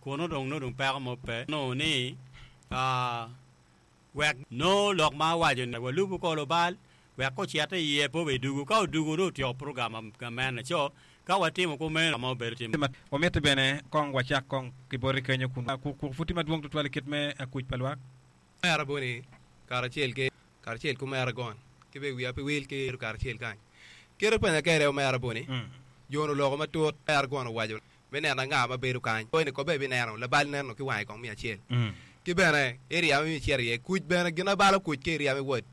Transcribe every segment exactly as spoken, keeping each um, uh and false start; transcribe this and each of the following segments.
Kuno dong nongo dong peko mo pe nongo ni ah, wek nongo lok ma awaco ni walubo ko lubal wek kocito iye pe obe dugu ka odugu nongo otyeko program gamene co ka watimo kumeno ma obedo tim Wamiti bene kong wacak kong ki boti kenyo kun kuku pud tye madwong tutwal i kit me kuc pa lwak. Omera boni karacel ki karacel ki omera gon ki bene wiya pe wil ki karacel kany. Kite penya kede omera boni jo ni oloko matut omera gon owaco me neno anga ma bedo kany ni kobe ibineno labal neno ki wange kong miya acel ki bene area ma icito iye kuc bene gin abalo kuc ki area me wod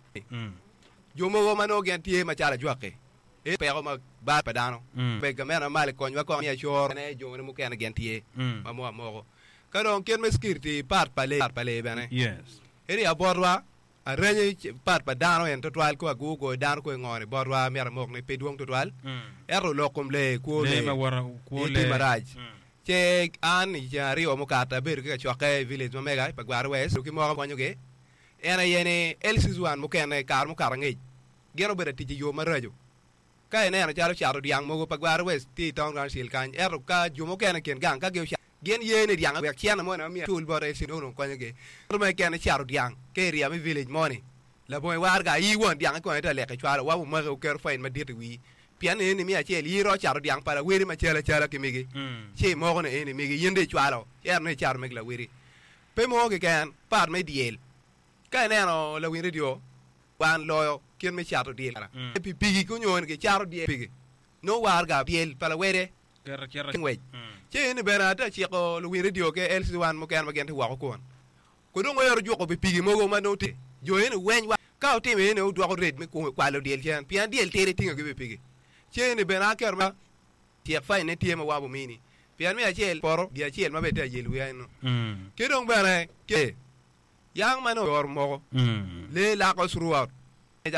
jo mogo ma nongo gin tye macalo ajwaki e peko ma bal pa dano be gamente ma malo ikonywa kong miya coro ne jo mukene gin tye ma mo amoko ka dong kit me security part pa lee pa lee bene Yes. area botwa arenyo part pa dano en tutwal ko agu goyo dano ko ingoni botwa myero amok ni pe dwong tutwal ento lok kom lee kwo Lee lee ma woto kwo tye lee. marac ce an i ceng aryo mukato abedo ki kacokke i village ma mega pa Gwara West ki moko konyogi en aye ni L C one mukene kare mukato angec gin obedo tic i yo maraco ka ineno calo cato dyang mogo pa Gwara West tye i town council kany ento ka jo mukene i kin gang ka gi gin ye ni dyang wek cene mo na myero cul bote L C nongo konyogi ento ma keken cato dyang ka area me village moni labongo iwarga ii won dyang ikone te lek icwalo wa omaki oketo fine madit i wii pien eni miya acel ii ro cato dyang pa lawedi macalo acala ki migi ci imoko ni eni migi in dong icwalo ento ni icato meg lawedi pe mo keken part me dyel ka ineno lawiny radio wan loyo kit me cato dyel pikipiki kunyo gicato dyel piki nongo warga dyel pa lawede Keto cito. ngwec ci eni bene ate ciko luwiny radio ki L C one mukene ma gin tye woko kun kudong ero juko pikipiki mogo ma nongo tye jo eni weny wa ka otimo eni odwoko rate me kwalo dyel cen pien dyel tidi tingo ki pikipiki ci eni bene aketo ma cik fine ne tye ma wabo mini pien miya acel poto dye acel ma bene tye ayelo wiya eno ki dong bene ke yang ma nongo oro moko lee lako throughout